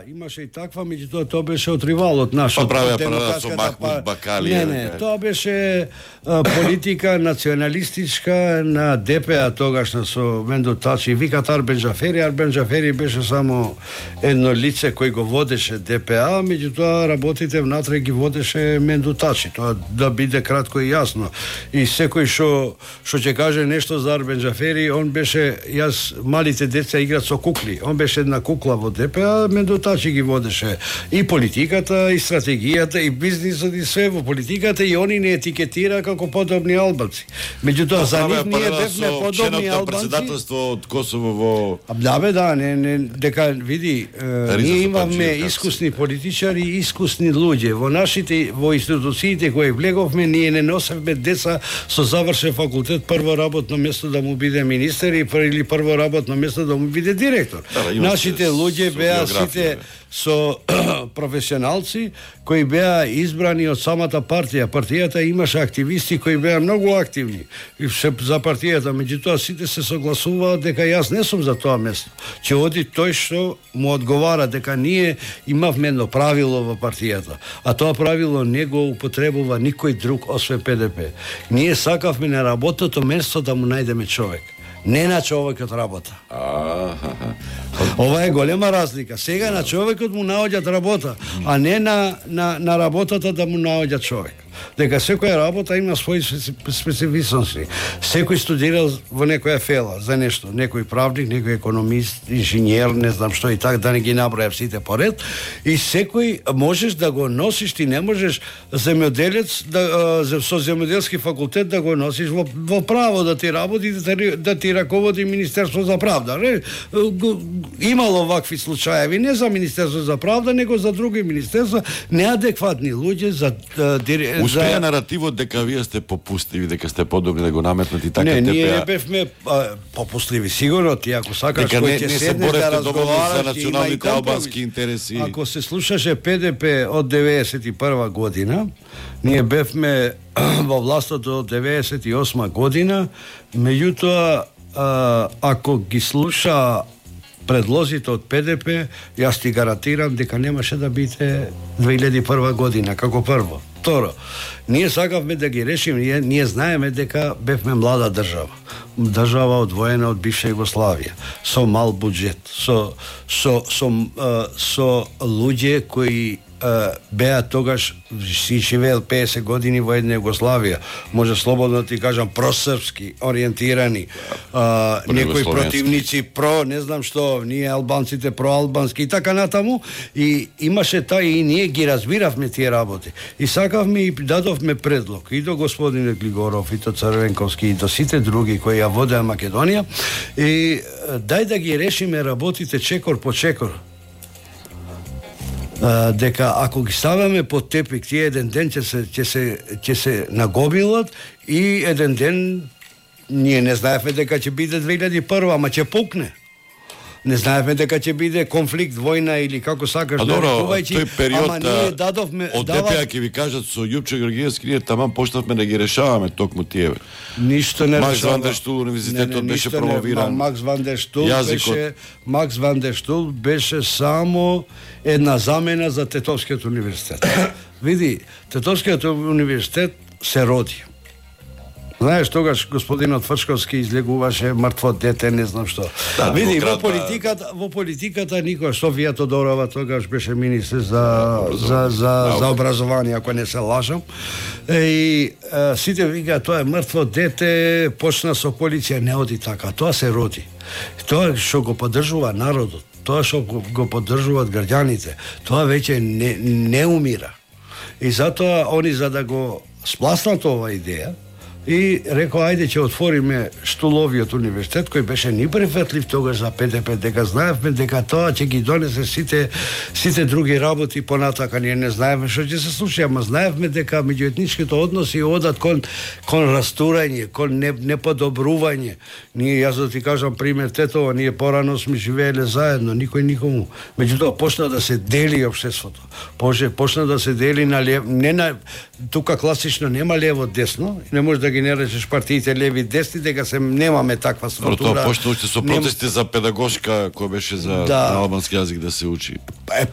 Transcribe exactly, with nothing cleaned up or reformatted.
имаше и таква, меѓутоа тоа беше од ривалот наш. Па правеа паралел со Махмуд Бакали. Не, не, тоа беше а, политика националистичка на ДПА тогашна со Менду Тачи. Викат Арбен Джафери, Арбен Джафери беше само едно лице кој го водеше ДПА, меѓутоа работите внатре ги водеше Менду Тачи. Тоа да биде кратко и јасно. И секој што што ќе каже нешто за Арбен Джафери, он беше, јас малите деца играат со кукли. Он беше една кукла во ДПА, Менду Тачи ги водеше и политиката, и стратегијата, и бизнисот, и све во политиката, и они не етикетира како подобни албанци. Меѓутоа за нив ние бевме подобни албанци. Председателство од Косово во Да бе, да, не, не дека види, е, ние имаме искусни политичари и искусни луѓе. Во нашите во институциите кои влеговме, ние не носевме деца со завршен факултет прво работно место да му биде министер и или прво работно место да му биде директор. Да, нашите луѓе беа сите со професионалци кои беа избрани од самата партија. Партијата имаше активисти кои беа многу активни и се за партијата, меѓутоа сите се согласуваат дека јас не сум за тоа место. Ќе оди тој што му одговара, дека ние имавме едно правило во партијата, а тоа правило не го употребува никој друг освен ПДП. Ние сакавме на работното место да му најдеме човек. Не на човекот работа. Ова е голема разлика. Сега на човекот му наоѓаат работа, а не на, на, на работата да му наоѓа човек. Дека секоја работа има своји специфичности. Секој студирал во некоја фела за нешто, некој правник, некој економист, инженер, не знам што и така, да не ги набројам сите поред, и секој можеш да го носиш, ти не можеш земјоделец да со земјоделски факултет да го носиш во, во право да ти работи, да ти, да ти раководи Министерство за правда. Не? Имало вакви случаеви, не за Министерство за правда, него за други министерства, неадекватни луѓе за успеа наративот дека вие сте попустливи, дека сте подобри да го наметнете и така. Не, ние не бевме а, попустливи, сигурно. Ти ако сакаш кој ќе седнеш да разговараш за националните албански интереси. Ако се слушаше ПДП од деветдесет и прва година, ние бевме во властот од деветдесет и осма година, меѓутоа ако ги слуша предлозите од ПДП, јас ти гарантирам дека немаше да биде две илјади и прва година како прво. Второ, ние сакавме да ги решиме, ние, ние знаеме дека бевме млада држава. Држава одвоена од бивша Југославија, со мал буџет, со со со со, со луѓе кои беа тогаш си живеел песет години во една Југославија, може слободно да ти кажам просрпски ориентирани, а, некои противници про, не знам што, ние албанците проалбански и така натаму, и имаше та и ние ги разбиравме тие работи. И сакавме и дадовме предлог и до господине Глигоров, и до Црвенковски, и до сите други кои ја водеа Македонија, и дај да ги решиме работите чекор по чекор. Uh, дека ако ги ставаме под тепик, тие еден ден ќе се ќе се ќе се нагомилат и еден ден ние не знаевме дека ќе биде две илјади и прва, ама ќе пукне. Не знаевме дека ќе биде конфликт, војна или како сакаш да рекувајќи, тој период, ама ние дадовме од ДПА ќе ви кажат со Јупче Георгиевски, ние таман почнавме да ги решаваме токму тие. Ништо не решава. Макс ван дер Штул универзитетот беше промовиран. Макс ван дер Штул беше Макс ван дер Штул беше само една замена за Тетовскиот универзитет. Види, Тетовскиот универзитет се роди. Знаеш, тогаш господинот Фршковски излегуваше мртво дете, не знам што. Да, види, во политиката, во политиката никош Софија Тодорова тогаш беше министр за за за за образование, ако не се лажам. И а, сите викаат тоа е мртво дете, почна со полиција, не оди така. Тоа се роди. Тоа што го поддржува народот, тоа што го поддржуваат граѓаните, тоа веќе не не умира. И затоа они за да го спласнат оваа идеја, и рекоа, ајде ќе отвориме Штуловиот универзитет, кој беше неприфатлив тогаш за ПДП, дека знаевме дека тоа ќе ги донесе сите сите други работи понатака. Ние не знаевме што ќе се случи, ама знаевме дека меѓуетничките односи одат кон кон растурање, кон не, неподобрување. Ние, јас да ти кажам пример Тетово, ние порано сме живееле заедно, никој никому. Меѓутоа почна да се дели општеството. Почна, почна да се дели на лев, не на тука класично нема лево десно, не може да ги не речеш партиите леви десни, дека се немаме таква структура. Тоа почна уште со протести Нем... за педагошка која беше за да. албански јазик да се учи. Е,